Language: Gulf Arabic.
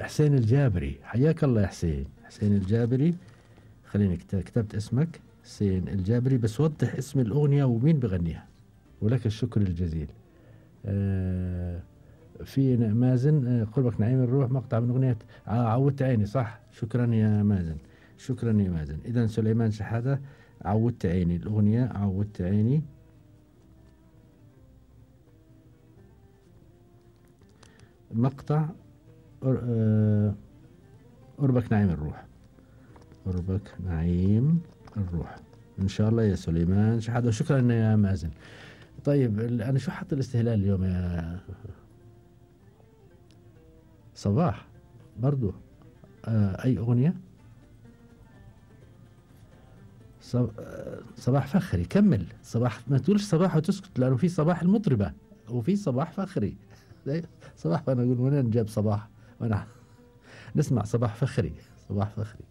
حسين الجابري، حياك الله يا حسين. حسين الجابري، خليني كتبت اسمك حسين الجابري، بس وضح اسم الأغنية ومين بغنيها. ولك الشكر الجزيل. في مازن، قربك نعيم الروح، مقطع من أغنية عودت عيني، صح. شكرا يا مازن، شكرا يا مازن. إذا سليمان شحادة، عودت عيني، الأغنية عودت عيني. مقطع قربك نعيم الروح، قربك نعيم الروح إن شاء الله يا سليمان شحادة. وشكرا يا مازن. طيب أنا شو حط الاستهلال اليوم يا صباح؟ برضو أي أغنية؟ صباح فخري، كمل. صباح، ما تقولش صباح وتسكت، لأنه في صباح المطربة وفي صباح فخري. صباح، وأنا أقول وين جاب صباح؟ وأنا نسمع صباح فخري، صباح فخري.